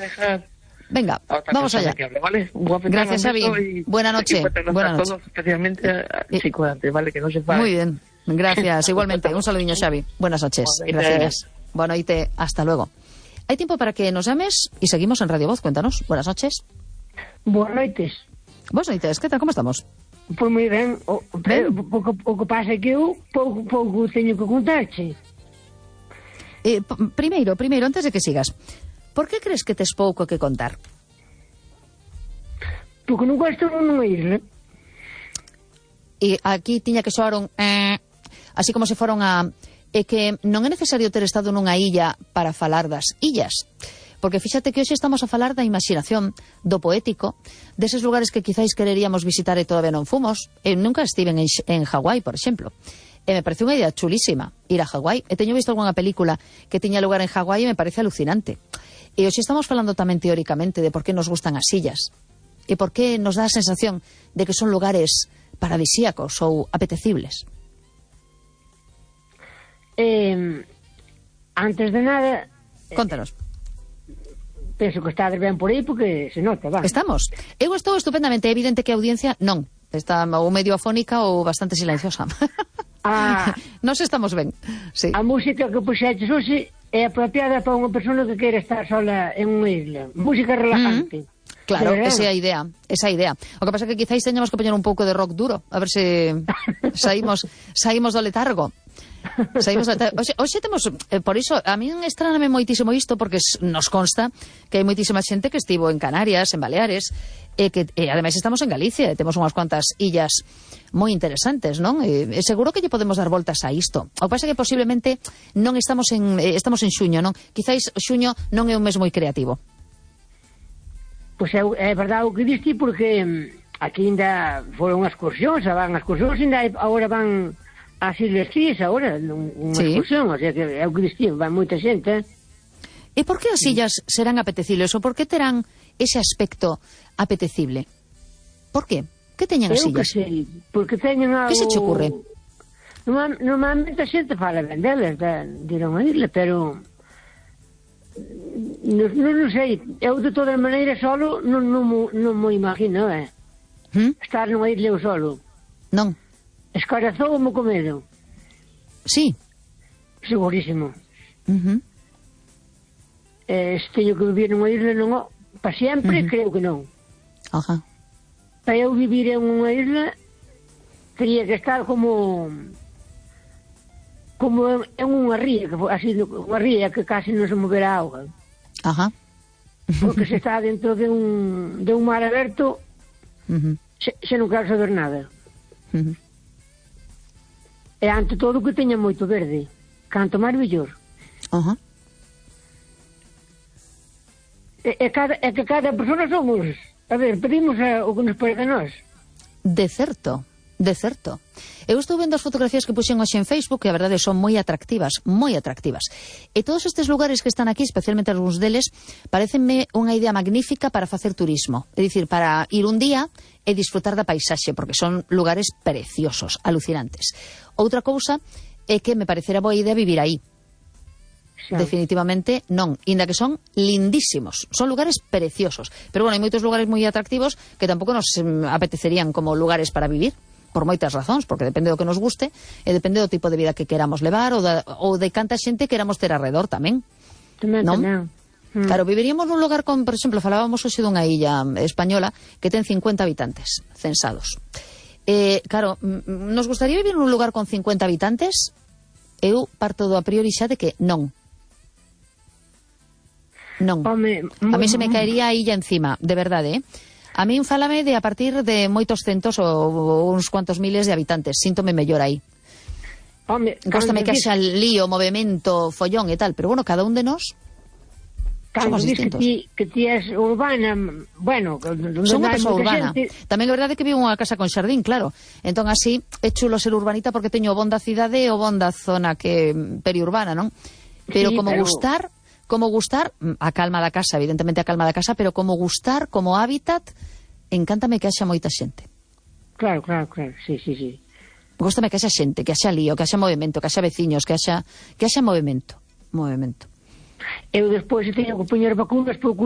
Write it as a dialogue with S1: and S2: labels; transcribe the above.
S1: dejar...
S2: Venga, vamos allá.
S1: Hable, ¿vale?
S2: Gracias, Xavi. Buena noche. Buenas noches.
S1: Especialmente a Chicoante, ¿vale? Que no se pague.
S2: Muy bien. Gracias. Igualmente. Un saludinho, Xavi. Buenas noches. Gracias. Bueno, hasta luego. Hay tiempo para que nos llames y seguimos en Radio Voz. Cuéntanos. Buenas noches.
S3: Buenas noites.
S2: Buenas noites. ¿Qué tal? ¿Cómo estamos?
S3: Pois moi ben. O que pasa é que eu pouco teño que contarche.
S2: Primeiro, antes de que sigas, por que crees que tes pouco que contar?
S3: Porque non gosto nunha isla.
S2: E aquí tiña que soar un así como se foron a... É que non é necesario ter estado nunha illa para falar das illas. Porque fíxate que hoxe estamos a falar da imaginación, do poético, deses lugares que quizáis quereríamos visitar e todavía non fomos. Eu nunca estiven en Hawái, por exemplo. E me parece unha idea chulísima ir a Hawái. E teño visto algunha película que tiña lugar en Hawái e me parece alucinante. E hoxe estamos falando tamén teóricamente de por que nos gustan as illas e por que nos dá a sensación de que son lugares paradisíacos ou apetecibles.
S3: Antes de nada...
S2: Contanos.
S3: Penso que estades ben por aí porque se nota, va.
S2: Estamos. Eu estou estupendamente. É evidente que a audiencia non. Está ou medio afónica ou bastante silenciosa. Nos estamos ben. Sí.
S3: A música que puxeches hoxe é apropiada para unha persona que quere estar sola en unha isla. Música relajante.
S2: Claro, esa é a idea. O que pasa é que quizáis teñamos que poñer un pouco de rock duro, a ver se saímos do letargo. Hoxe temos, por iso, a min estráname moitísimo isto, porque nos consta que hai moitísima xente que estivo en Canarias, en Baleares, e ademais estamos en Galicia, e temos unhas cuantas illas moi interesantes, non? E seguro que lle podemos dar voltas a isto. O que pasa é que posiblemente non estamos en xuño, non? Quizáis xuño non é un mes moi creativo.
S3: Pois é verdade o que diste, porque aquí ainda foron excursións, ainda agora van ás Ilhas Cíes, agora, unha excursión, o sea que é o que diste, van moita xente.
S2: E por que as illas serán apetecibles, ou por que terán ese aspecto apetecible? Por qué? Que teñen as illas?
S3: Eu que sei, porque teñen algo...
S2: Que se che ocurre?
S3: Normalmente a xente fala ben delas, de ir a unha isla, pero... Non sei, eu de todas maneiras solo non mo imagino, estar nunha isla eu solo.
S2: Non.
S3: Escarazou-me co medo.
S2: Sí.
S3: Segurísimo. Se teño que vivir nunha isla non, para sempre, creo que non.
S2: Ajá.
S3: Para eu vivir en unha isla teria que estar como en unha ría, así, unha ría que casi non se movera a auga.
S2: Ajá.
S3: Porque se está dentro de un mar aberto, se non quero saber nada. E ante todo que teña moito verde, canto máis mellor.
S2: Ajá.
S3: E que cada persona somos, a ver, pedimos o que nos parece a nós.
S2: De certo. Eu estou vendo as fotografías que puxen hoxe en Facebook, que a verdade son moi atractivas. E todos estes lugares que están aquí, especialmente algúns deles, parecenme unha idea magnífica para facer turismo. É dicir, para ir un día e disfrutar da paisaxe, porque son lugares preciosos, alucinantes. Outra cousa é que me parecera boa idea vivir aí. Definitivamente non, inda que son lindísimos, son lugares preciosos, pero bueno, hai moitos lugares moi atractivos que tampouco nos apetecerían como lugares para vivir, por moitas razóns, porque depende do que nos guste e depende do tipo de vida que queramos levar ou de canta xente queramos ter alrededor tamén.
S3: Tamén.
S2: Claro, viviríamos nun lugar con, por exemplo, falábamos hoxe dunha illa española que ten 50 habitantes censados. Claro, nos gustaría vivir nun lugar con 50 habitantes? Eu parto do a priori xa de que non. Non. A mí se me caería a illa encima, de verdade, A min fálame de a partir de moitos centos ou uns cuantos miles de habitantes. Síntome mellor aí. Góstame que haxa lío, movimento, follón e tal, pero bueno, cada un de nós somos distintos.
S3: Que ti és urbana, bueno,
S2: son unha persoa urbana. Tamén é verdade que vivo unha casa con xardín, claro. Entón así é chulo ser urbanita porque teño o bon da cidade e o bon da zona que periurbana, non? Pero sí, como gustar, a calma da casa, evidentemente a calma da casa, pero como gustar, como hábitat, encántame que haxa moita xente.
S3: Claro, sí.
S2: Góstame que haxa xente, que haxa lío, que haxa movimento, que haxa veciños, que haxa movimento. Eu
S3: despois teño que poñer vacunas por culpa